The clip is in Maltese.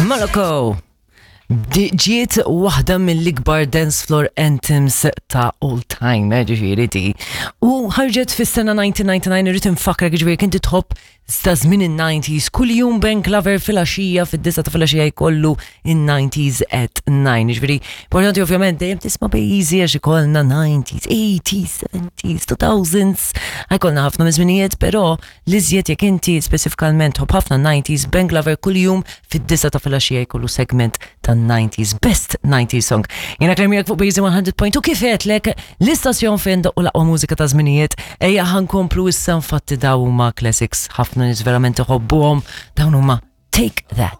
Moloko! Ġiet waħda mill-ikbar dance floor anthems ta' all time, eh, ġifieri di. U ħarġet fis-sena 1999 irrid infakrek ġifieri kinti tħobb ta' żmien in-90s, kuljum Ben Glover filgħaxija fid-disa ta' filgħaxija jkollu in-90s at 9. Ġifieri, importanti ovvjament dejjem tisma' bejjiżi għax ikollna 90s, 80s, 70s, 2000s, ħajkollna ħafna miż-żminijiet, però L-iżjed jekk inti speċifikalment tħobb ħafna 90s, Ben Glover kuljum fid-disa ta' filgħaxija jkollu segment ta' 90s, best 90s song. Jiena Claire miegħek fuq Bejzi 100.2 kif għedtlek l-istazzjon fejn doqqu l-aqwa mużika ta' żminijiet, ejja ħankomplu issa infatti daw huma classics ħafna nies verament iħobbuhom, dawn huma Take That.